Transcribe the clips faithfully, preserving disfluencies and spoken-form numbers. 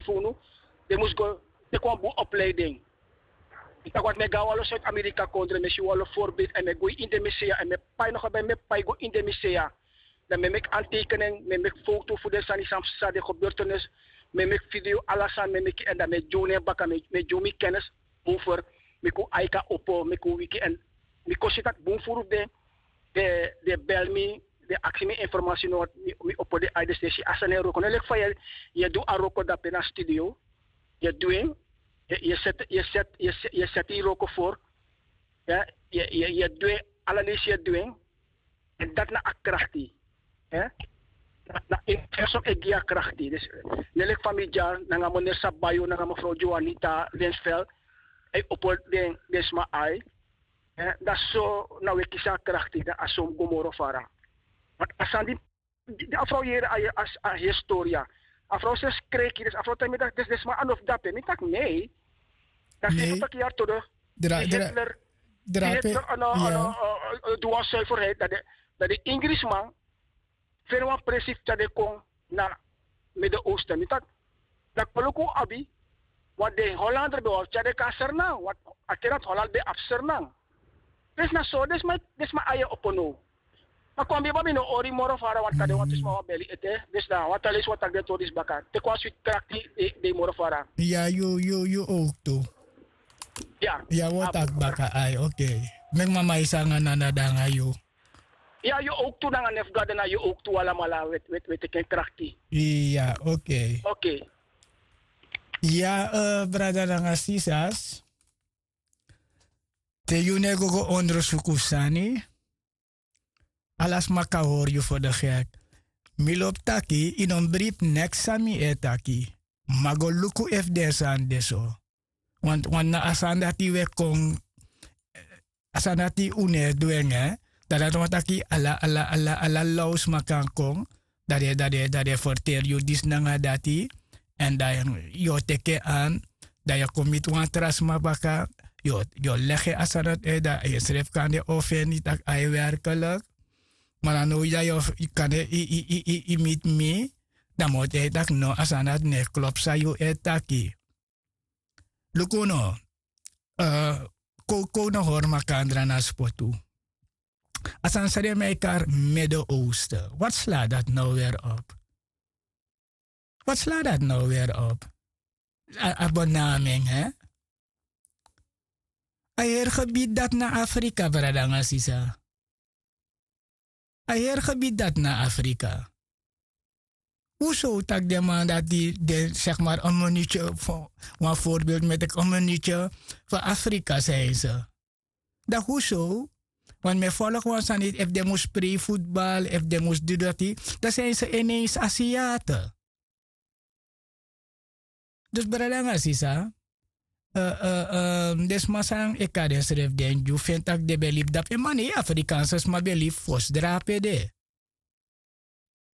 tu unu. Den mus go teki wan bun opleiding. Mi taki wantu mi e go na wan lo suid amerika kondre mi e si wan lo forbeeld èn mi e go ini den mi sea èn mi e pai nogo ben mi e pai go ini den mi sea. Dan mi e meki antekening mi e meki fowtu fu den sani san fu san den gebeurtenis. Mi e meki video ala sani mi e meki èn dan mi e gi unu en baka mi e gi unu mi kennis. Over. Mi kon aika opo mi kon wiki èn mi kon si tak' bun furu fu den den bel mi, den aksi mi informasi no mi opo den aide sesi a sani e wroko no leki fa yu e du a wroko dape na studio. Yu e du en. Yu e seti yu wroko for. Yu e du en. Ala leisi yu e du en. Èn dati na a krakti. Na en person e gi yu a krakti. Ne leki fa mi dya nanga meneer sabayo nanga mefrow joanita lensfel. A e opo den sma ai. Dan so na wi e kisi a krakti dan a so mus go moro fara. Want a sani di a frow yere a historia. A frow sesi kreki dus a frow taigi mi dati den sma a no fu dape mi taki nei. Dan sesi taki yari todo di hitler di hitler a no du wan suiferheid. Dan den ingrisman feni wan presi fu tyari den kon na midden oosten mi taki. Dan kon luku un abi. Want den hollander ben wani tyari den kon na sernan want a ten dati holland ben abi sernan. Presi na so den sma ai e opo now. Ma kon biba mi no hori moro fara want kande wantu sma wan beli ete. Dus na wan tan leisi wan taki den tori disi baka teki wan switi krakti. Dei moro fara. Ya yu yu yu owktu. Ya yu a wori taki baka ai okei. Meki mama yu sanga nana dan nanga yu. Ya yu owktu nanga nefu gado na yu owktu alamala. Wi e teki en krakti. Ya okei. Ya brada nanga sisas. Te yu no e go go ondersuku sani. Ala sma kan hori yu fu de gek. Mi lobi taki yu no mus bribi neks san mi e taki. Ma go luku efu den sani de so. Wantu na a sani dati wi e kon a sani dati un no e du en. Dan dati wani taki ala ala ala law sma kan kon. Dan den dan den ferteri yu disi nanga dati. Èn dan yu o teki en an. Dan yu o kon miti wan tra sma baka. Yu o legi en a sani dati dan yu srefi kande o feni tak' a e werkelik. Ma na now dan yu o kande yu miti mi. Dan mi o taigi yu tak' no a sani dati no e klopu san yu e taki. Luku no. Kowkow no hori makandra na spotu. A sani san den mi e kari mede oosten wat sla dati no weri op? Wat sla dati no weri op? A benamen he. A heri gebidi dati na afrika brada nanga sisa. A heri gebidi dati na afrika. Hu sow tak' den man dati den segi mari en minutye fu wan forbeeld mi e teki en minutye fu afrika san en se. Dan hu sow? Wantu mi e folok wan sani efu den mus prei futbal efu den mus du dati dan san en se en ne en se asiate. Dus brada nanga sisa. Den sma san e kari densrefi den gi un feni tak' den ben libi dape ma nei afrikaanse sma ben libi fosi drape de.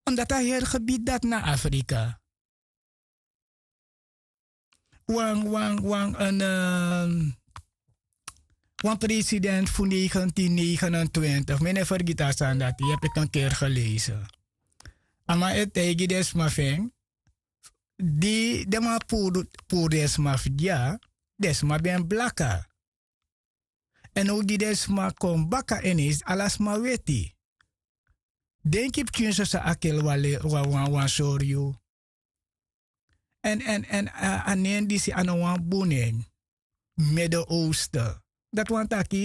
Omdati a heri gebidi dati na afrika. Wan wan wan en wan president fu negentin negenentwintig mi no e fergiti a sani dati yu hebi eki en keri geleise. A man e taigi den sma fu en di den man puru den sma fu dya den sma ben blaka. Èn now di den sma kon baka en esi ala sma weti. Denki pikin soso a keli wan wan sori yu. Èn a nen disi a no wan bun nen. Mede oosten dati wani taki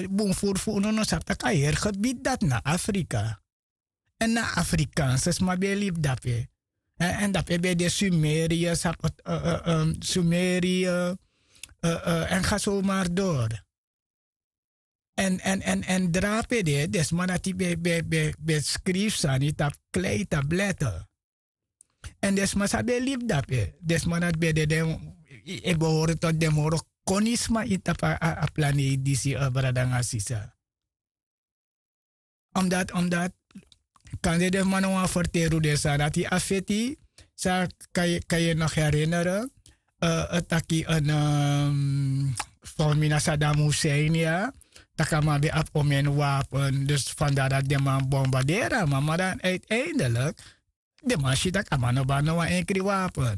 bun furu fu unu no sabi tak' a heri gebidi dati na afrika. Èn na afrikaanse sma ben e libi dape. Èn dape ben de sumeria sabi sumeria èn ga somari dori. Èn èn èn èn drape de den sma dati ben ben ben skrifi sani tapu klei tablete. Èn den sma san ben libi dape den sma dati ben de den e behori toti den moro koni sma ini tapu a planeiti disi brada nanga sisa. Omdati omdati kande den fu man no wani ferteri un den sani dati a feti san kan yu no herinere. Taki en fomina sadam hussein ya tak' a man ben abi omen wapen dus fanda dati den man bombarderi a man ma dan uiteindelik den man si tak' a man no ben abi no wan enkri wapen.